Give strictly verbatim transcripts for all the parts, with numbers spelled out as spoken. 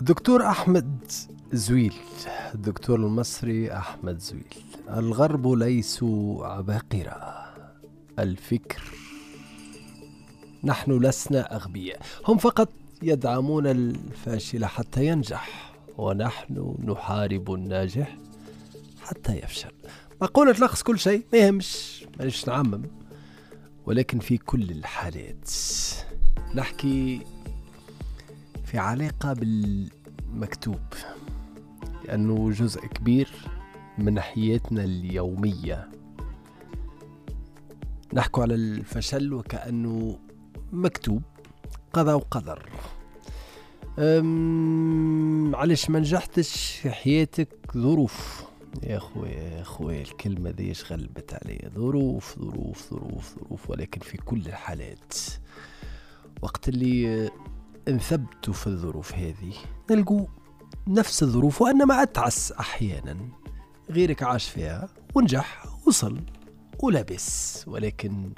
الدكتور أحمد زويل، الدكتور المصري أحمد زويل: الغرب ليسوا عباقرة الفكر، نحن لسنا أغبياء، هم فقط يدعمون الفاشل حتى ينجح، ونحن نحارب الناجح حتى يفشل. مقولة تلخص كل شيء، ما يهمش، مانيش نعمم، ولكن في كل الحالات نحكي في علاقة بالمكتوب، لأنه جزء كبير من حياتنا اليومية. نحكي على الفشل وكأنه مكتوب، قضاء وقدر. علاش ما نجحتش في حياتك؟ ظروف يا خويا، يا خويا الكلمة دي غلبت عليا، ظروف ظروف ظروف ظروف. ولكن في كل الحالات وقت اللي نثبتوا في الظروف هذه نلقوا نفس الظروف وإنما أتعس أحيانا، غيرك عاش فيها ونجح وصل ولبس، ولكن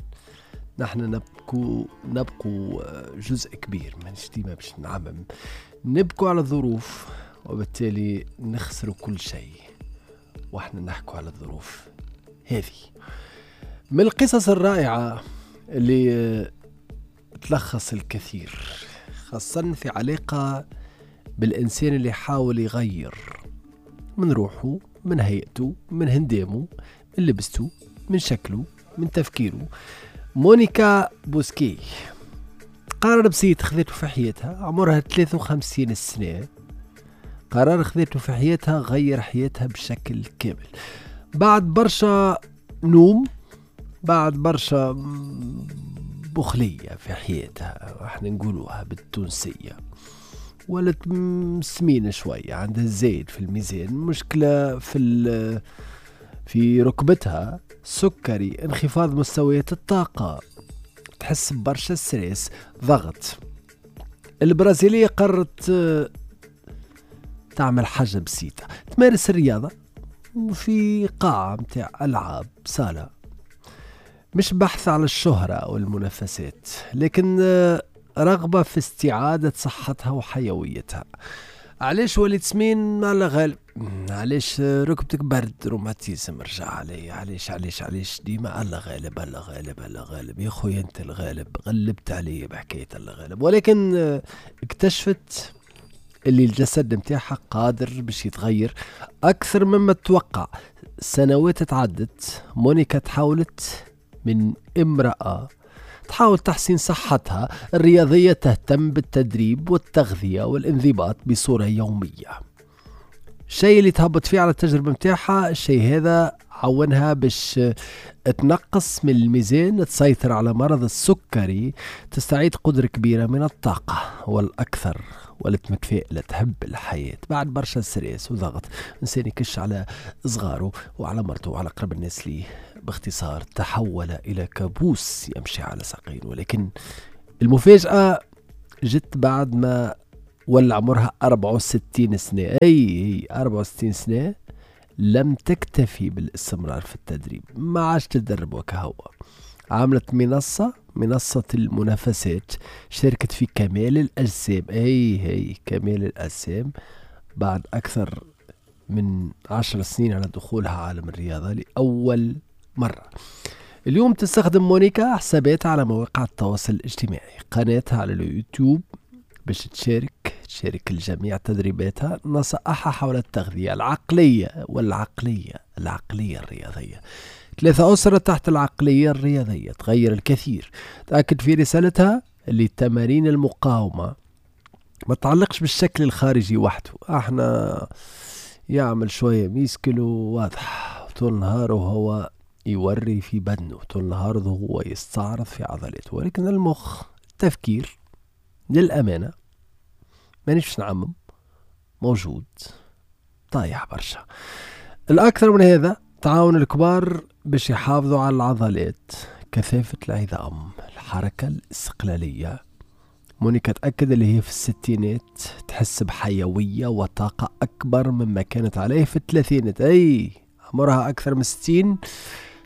نحن نبكو نبقو جزء كبير، مانيش ديما باش نعمم، نبكو على الظروف وبالتالي نخسر كل شيء واحنا نحكو على الظروف هذه. من القصص الرائعة اللي تلخص الكثير، خاصة في علاقة بالإنسان اللي حاول يغير من روحه، من هيئته، من هندامه، من لبسته، من شكله، من تفكيره. مونيكا بوسكي قرار بسيط خذته في حياتها، عمرها ثلاثة وخمسين سنة، قرار خذته في حياتها غير حياتها بشكل كامل. بعد برشا نوم، بعد برشا بخلية في حياتها، احنا نقولوها بالتونسية، ولت سمينة شوية، عندها زايد في الميزان، مشكلة في في ركبتها، سكري، انخفاض مستويات الطاقة، تحس برشا stress، ضغط. البرازيلية قررت تعمل حاجة بسيطة، تمارس الرياضة في قاعة متاع ألعاب، صالة، مش بحث على الشهرة أو المنافسات، لكن رغبة في استعادة صحتها وحيويتها. علاش وليت سمين؟ على غالب. علاش ركبتك برد، روماتيزم رجع علي، علاش علاش علاش ديما على غالب، على غالب، على غالب. يا خويا انت الغالب، غلبت علي بحكاية الله غالب. ولكن اكتشفت اللي الجسد متاعها قادر باش يتغير أكثر مما تتوقع. سنوات تعدت، مونيكا تحولت من امرأة تحاول تحسين صحتها الرياضية، تهتم بالتدريب والتغذية والانضباط بصورة يومية. الشيء اللي تهبط فيه على التجربة متاعها، الشيء هذا عونها باش تنقص من الميزان، تسيطر على مرض السكري، تستعيد قدرة كبيرة من الطاقة، والأكثر ولت متفائلة، تحب الحياة. بعد برشا stress وضغط، إنسان يكش على صغاره وعلى مرته وعلى قرب الناس ليه. باختصار تحول إلى كابوس يمشي على ساقين. ولكن المفاجأة جت بعد ما ولا عمرها أربعة وستين سنة، أي أي أربعة وستين سنة، لم تكتفي بالاستمرار في التدريب، ما عادش تدرب وكهو. عملت منصة، منصة المنافسات، شاركت في كمال الأجسام، أي أي كمال الأجسام، بعد أكثر من عشر سنين على دخولها عالم الرياضة لأول مرة. اليوم تستخدم مونيكا حساباتها على مواقع التواصل الاجتماعي، قناتها على اليوتيوب، باش تشارك تشارك الجميع تدريباتها، نصائحها حول التغذية العقلية والعقلية العقلية الرياضية. ثلاثة أسرة تحت العقلية الرياضية تغير الكثير. تأكد في رسالتها اللي تمارين المقاومة ما تعلقش بالشكل الخارجي وحده. احنا يعمل شوية ميسكلو واضح طول النهار وهو يوري في بدنه، طول النهار وهو يستعرض في عضلاته، ولكن المخ، التفكير، للأمانة مانيش نعمم، موجود طايح برشا. الأكثر من هذا تعاون الكبار باش يحافظوا على العضلات، كثافة العظام، الحركة الاستقلالية. مونيكا تأكد اللي هي في الستينات تحس بحيوية وطاقة أكبر مما كانت عليه في الثلاثينات. أي عمرها أكثر من ستين،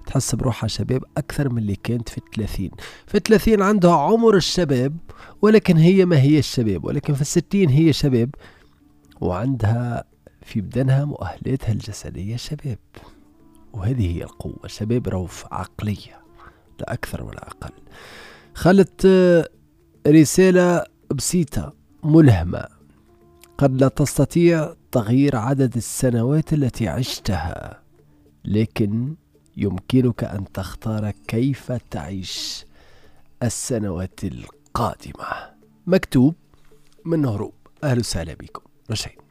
تحس بروحها شباب أكثر من اللي كانت في الثلاثين. في الثلاثين عندها عمر الشباب، ولكن هي ما هي الشباب، ولكن في الستين هي شباب. وعندها في بدنها مؤهلاتها الجسدية شباب، وهذه هي القوة. شباب روف عقلية لا أكثر ولا أقل. خلت رسالة بسيطة ملهمة: قد لا تستطيع تغيير عدد السنوات التي عشتها، لكن يمكنك أن تختار كيف تعيش السنوات القادمة. مكتوب من هروب. أهلا وسهلا بكم رشيد.